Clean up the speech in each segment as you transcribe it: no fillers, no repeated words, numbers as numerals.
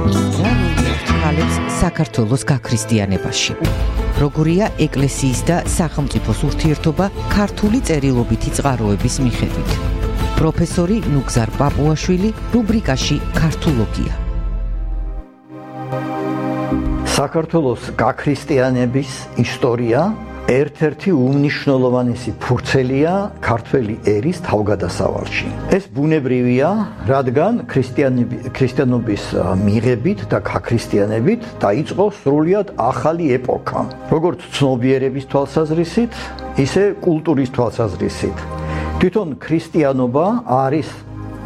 ხალხს საქართველოს გაქრისტიანებაში. როგორია ეკლესიის და სახელმწიფოს ურთიერთობა ქართული წერილობითი წყაროების მიხედვით. პროფესორი ნუგზარ პაპუაშვილი რუბრიკაში ქართულოგია. საქართველოს გაქრისტიანების ისტორია ერთ-ერთი უმნიშვნელოვანესი ფურცელია ქართველი ერის თავგადასავალში. ეს ბუნებრივია, რადგან ქრისტიანობის მიღებით და გაქრისტიანებით დაიწყო სრულიად ახალი ეპოქა, როგორც ცნობიერების თვალსაზრისით, ისე კულტურის თვალსაზრისით. თვითონ ქრისტიანობა არის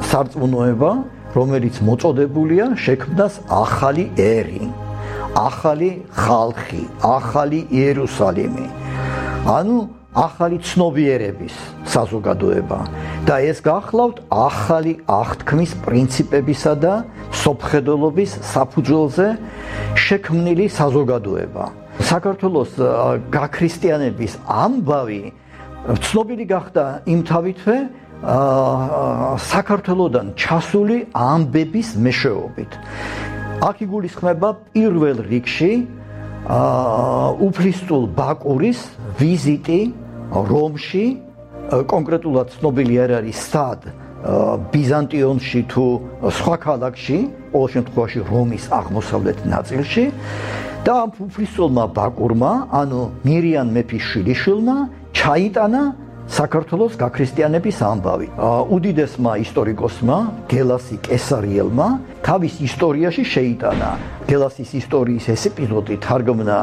სარწმუნოება, რომელიც მოწოდებულია შექმნას ახალი ერი, ახალი ხალხი, ახალი იერუსალიმი. ანუ ახალი ცნობიერების საზოგადოება და ეს გახლავთ ახალი აღთქმის პრინციპებისა და სოფხედელობის საფუძველზე შექმნილი საზოგადოება. საქართველოს გაქრისტიანების ამბავი ცნობილი გახდა იმთავითვე საქართველოდან ჩასული ამბების მეშვეობით. აქ იგულისხმება პირველ რიგში უფლისწულ ბაკურის ვიზიტი რომში, კონკრეტულად ცნობილი არ არის სად, ბიზანტიონში თუ სხვა ქალაქში, ყოველ შემთხვევაში რომის აღმოსავლეთ ნაწილში და ამ უფლისწულმა ბაკურმა, ანუ მირიან მეფის შვილიშვილმა ჩაიტანა საქართველოს გაქრისტიანების ამბავი. უდიდესმა ისტორიკოსმა გელასი კესარიელმა თავის ისტორიაში შეიტანა გელასის ისტორიის ეს ეპიზოდი თარგმნა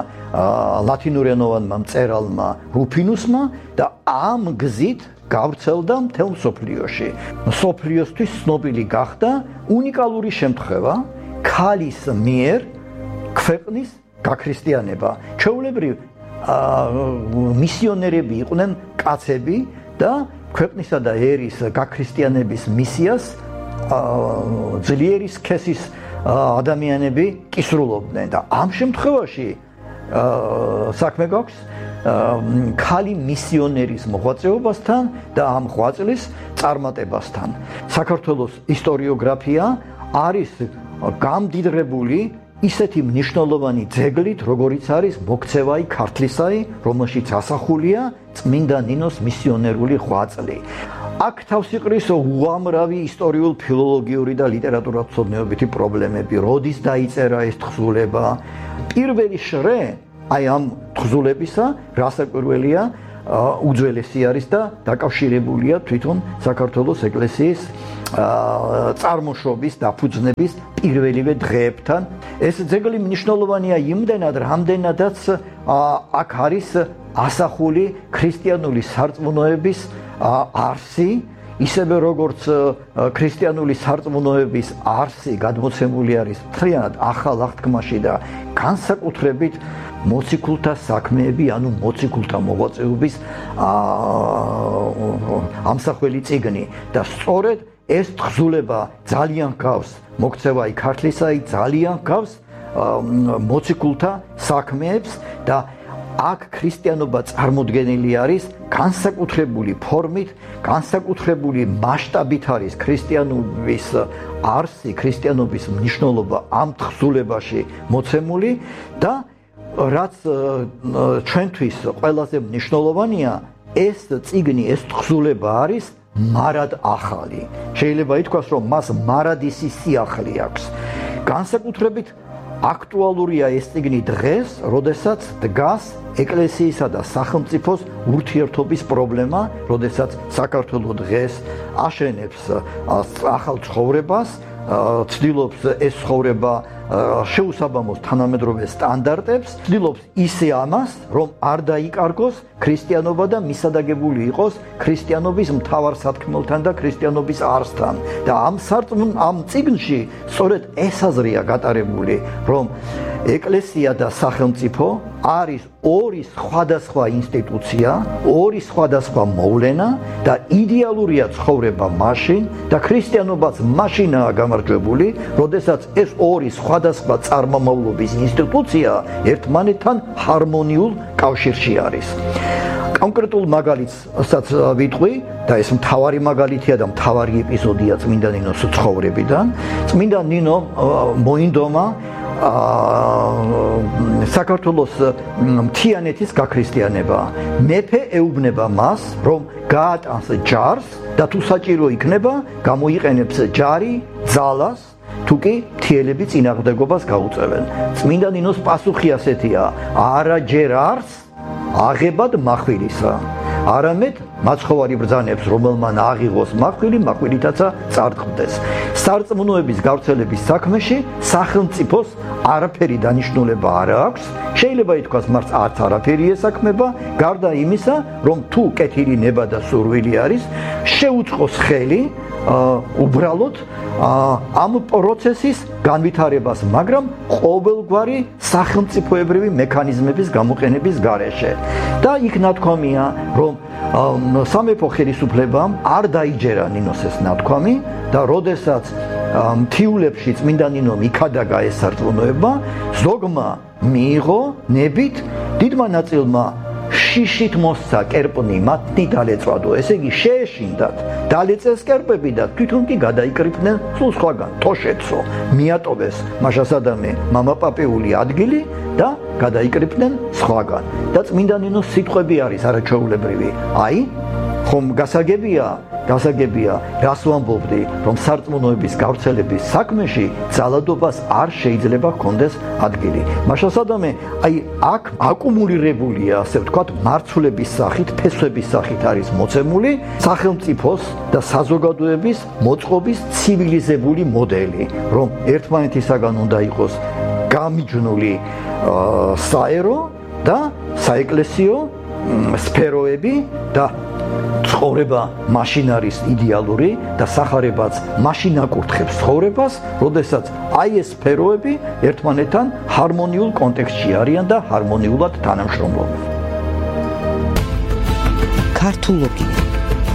ლათინურენოვანმა მწერალმა რუფინუსმა და ამ გზით გავრცელდა მთელ მსოფლიოში. მსოფლიოსთვის ცნობილი გახდა უნიკალური შემთხვევა ქალის მიერ ქვეყნის გაქრისტიანება. ჩვეულებრივ მისიონერები იყვნენ კაცები და ქვეყნისა და ერის გაქრისტიანების მისიას ძლიერი სქესის ადამიანები კისრულობდნენ და ამ შემთხვევაში საქმე გვაქვს ქალი მისიონერის მოღვაწეობასთან და ამ ღვაწლის წარმატებასთან. საქართველოს ისტორიოგრაფია არის გამდიდრებული ისეთი მნიშვნელოვანი ძეგლით, როგორიც არის მოქცევაი ქართლისაი, რომელშიც ასახულია წმინდა ნინოს მისიონერული ღვაწლი. აქ თავს იყრის უამრავი ისტორიულ, ფილოლოგიური და ლიტერატურათმცოდნეობითი პრობლემები. როდის დაიწერა ეს თხზულება? პირველი შრე აი ამ თხზულებისა, რასაკვირველია, უძველესი არის და დაკავშირებულია თვითონ საქართველოს ეკლესიის წარმოშობის დაფუძნების პირველივე დღეებთან. ეს ძეგლი მნიშვნელოვანია იმდენად, რამდენადაც აქ არის ასახული ქრისტიანული სარწმუნოების არსი, ისევე როგორც ქრისტიანული სარწმუნოების არსი გადმოცემული არის მთლიანად ახალ აღთქმაში და განსაკუთრებით მოციქულთა საქმეები, ანუ მოციქულთა მოღვაწეობის ამსახველი წიგნი და სწორედ ეს თხზულება ძალიან გავს მოქცევაი ქართლისაი, ძალიან გავს მოციქულთა საქმეებს და აქ ქრისტიანობა წარმოდგენილი არის განსაკუთრებული ფორმით, განსაკუთრებული მასშტაბით არის ქრისტიანობის არსი, ქრისტიანობის მნიშვნელობა ამ თხზულებაში მოცემული და რაც ჩვენთვის ყველაზე მნიშვნელოვანია, ეს წიგნი, ეს თხზულება არის მარად ახალი. შეიძლება ითქვას, რომ მას მარადისი სიახლე აქვს. განსაკუთრებით აქტუალურია ეს წიგნი დღეს, როდესაც დგას ეკლესიისა და სახელმწიფოს ურთიერთობის პრობლემა, როდესაც საქართველო დღეს აშენებს ახალ ცხოვრებას, ცდილობს ეს ცხოვრება შეუსაბამოს თანამედროვე სტანდარტებს, ცდილობს ისე ამას, რომ არ დაიკარგოს ქრისტიანობა და მისადაგებული იყოს ქრისტიანობის მთავარ სათქმელთან და ქრისტიანობის არსთან. და ამ წიგნში სწორედ ეს აზრია გატარებული, რომ ეკლესია და სახელმწიფო არის ორი სხვადასხვა ინსტიტუცია, ორი სხვადასხვა მოვლენა და იდეალურია ცხოვრება მაშინ და ქრისტიანობაც მაშინაა გამარჯვებული, როდესაც ეს ორი სხვადასხვა წარმომავლობის ინსტიტუცია ერთმანეთთან ჰარმონიულ კავშირში არის. კონკრეტულ მაგალითსაც ვიტყვი და ეს მთავარი მაგალითია და მთავარი ეპიზოდია წმინდა ნინოს ცხოვრებიდან. წმინდა ნინო მოინდომა საქართველოს მთიანეთის გაქრისტიანება. მეფე ეუბნება მას, რომ გაატანს ჯარს და თუ საჭირო იქნება, გამოიყენებს ჯარი, ძალას, თუ კი მთიელები წინააღმდეგობას გაუწევენ. წმინდა ნინოს პასუხი ასეთია: არა ჯერ არს აღებად מחვილისა. არამედ მაცხოვარი ბრძანებს, რომელმან აღიღოს מחვილი, מחვილითაცა წარდგმდეს. სარწმუნოების გავრცელების საქმეში სახელმწიფოს არაფერი დანიშნულება არ აქვს. შეიძლება ითქვას, მას არც არაფერი ესაქმება, გარდა იმისა, რომ თუ კეთილი ნება და სურვილი არის, შეუწყოს ხელი უბრალოდ ამ პროცესის განვითარებას, მაგრამ ყოველგვარი სახელმწიფოებრივი მექანიზმების გამოყენების გარეშე. და იქ ნათქვამია, რომ სამეფო ხელისუფლებამ არ დაიჯერა ნინოს ეს ნათქვამი და როდესაც მთიულებში წმინდა ნინომ იქადაგა ეს სარწმუნოება, ზოგმა მიიღო ნებით, დიდმა ნაწილმა შიშით მოსცა კერპნი, მათი დალეწვადო, ესე იგი შეეშინდათ, დალეწეს კერპები და თვითონ კი გადაიკრიფნენ სულ სხვაგან, თოშეთსო, მიატოვეს მაშასადამე მამაპაპეული ადგილი და გადაიკრიფნენ სხვაგან. და წმინდა ნინოს სიტყვები არის არაჩვეულებრივი. აი, ხომ გასაგებია, რას ვამბობდი, რომ სარწმუნოების გავრცელების საქმეში ძალადობას არ შეიძლება ჰქონდეს ადგილი. მაშასადამე, აი, აქ აკუმულირებულია, ასე ვთქვათ, მარცვლების სახით, ფესვების სახით არის მოცემული სახელმწიფოს და საზოგადოების მოწყობის ცივილიზებული მოდელი, რომ ერთმანეთისაგან უნდა იყოს გამიჯნული საერო და საეკლესიო სფეროები და ცხოვრება მაშინ არის იდეალური და სახარებაც მაშინ აკურთხებს ცხოვრებას, როდესაც აი ეს სფეროები ერთმანეთთან ჰარმონიულ კონტექსტში არიან და ჰარმონიულად თანამშრომლობენ. ქართულოგია